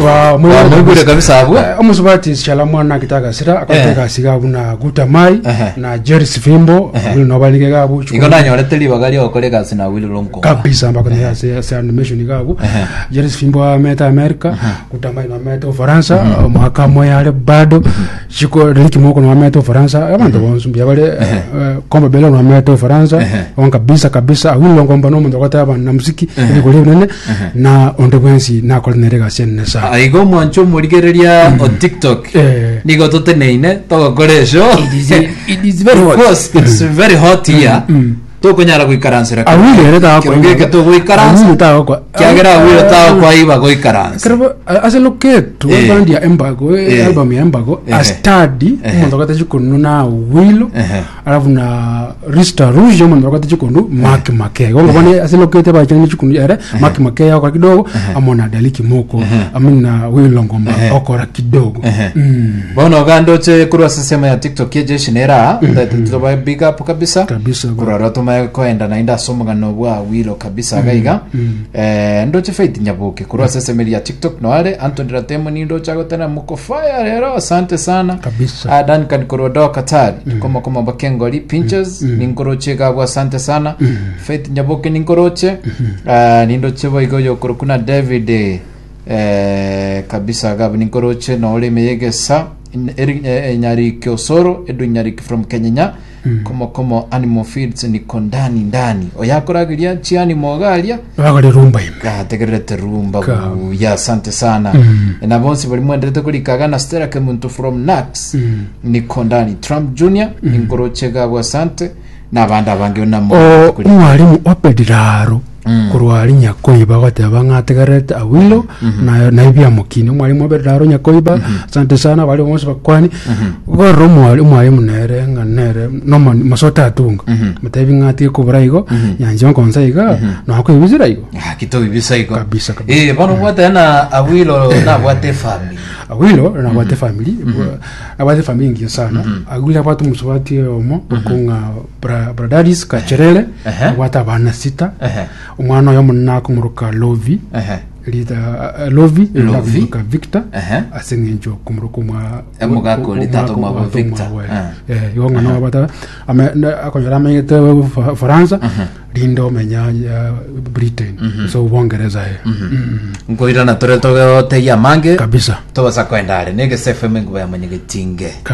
Mwaigure kabisa abwo. Omusubati Shala mwana akita agasira akorete Eh. egasi iga buna Gutamai Ehe. na Jerry Fimbo abwo no barenge iga abwo Igo nanyorete ribaga ria gokora egasi na Willy Lonko. kabisa mbakone ase ase animation iga abwo Ehe. Jerry Fimbo amete America Gutamai no amete Ufaransa omwaka moyare bado Chiko Ricky Moko no amete Ufaransa abanto bonsi mbuya bare eh, Komba Bella no amete Ufaransa on kabisa kabisa Awilo Ngomba no omonto ogoteba na muziki ebigori ebinene na onde bwensi nakore nere egasi enene sana Ah, Igo omwancho omorigereria o TikTok. Eh. Nigo toteneine togokora esho. it is very hot. Because it's very hot here. Tokonyara goikaransera kero Awilo ere kero tagokwa geke togoikaransa. Awilo tagokwa Kiagera Awilo tagokwaiba goikaransa. Kero ase loketu Eh. band ya Embago eh, Eh. album ya Embago Eh. astadi Eh. omonto ogate chikonu na Awilo Ehe. alafu na Rista Rouge omonto ogate chikonu Mark Makey igo ngobone ase lokete bachane chikonu ere Mark Makey okora kidogo amo na Dali Kimoko amo na Awilo Ngoma okora kidogo Ehe. Mm. Bono ogande oche korwa ase ensemo ya TikTok ejeshi nere aa mm tobae big up kabisa Kabisa, bro. korwa tomae koenda naende ase omogano bwa Awilo kabisa iga iga eh, ndoche Faith Nyaboke korwa ase ensemo ya TikTok noare Anthony Ratemo nindoche agotera moko fire rero asante sana Kabisa. Ah, Duncan korwa Doha Qatar koma koma bakengori pinches ninkoroche iga abwo asante sana Faith Nyaboke ninkoroche Ah, nindoche boigo yokorokuna David eh, kabisa gabu ninkoroche nore ime yegesa In- eri- eh, eh, nyariki osoro edu nyariki from kenyenya komo komo animal feeds niko ndani ndani oyakorageria chianimo garia Bagore rumba ime gategererete rumba Ka- buya asante sana na bonsi bari mwenderete korikaga na stella kemuntu from nax niko ndani trump junior ninkoroche gabwo asante na abande abange onamo O- omwalimu opediraro korwa aria nyakoiba agoteba ng'a ategererete awilo na na ebiamokini omwalimu opediraro nyakoiba asante sana baria bonsi bakwani gorora omwali omwalimu nere ng'a nere nomo masote atunga motebi ng'a atige kobora igo nyanche nkonsa iga nakoibisera igo Ah, kitobibisa igo Kabisa, kabisa. Eh, bono obwate na awilo nabwate efamily awilo nabwate family nabwate family engiya sana awilo abwate omosubati oyomo okong'a Bra- Bradaris Kacherere Ehe. abwate abana sita Ehe. omwana oyo omonene akomoroka Lovi Ehe. rita eh, Lovi Lovi. akomoroka Victor Ehe. ase eng'encho okomoroka omwa Omogaka oria, tata omwabo omwabo Victor. omwabo, Eh. eh. Igo ng'a nabwate ame- na- akonyora amenyete Fa- Faransa rinde omenya eh, Britain ase Obongereza eh. Mm. Nkoirana tore togoteyia amange kabisa tobasa koenda are negese fm enguba ya mwenyegetinge.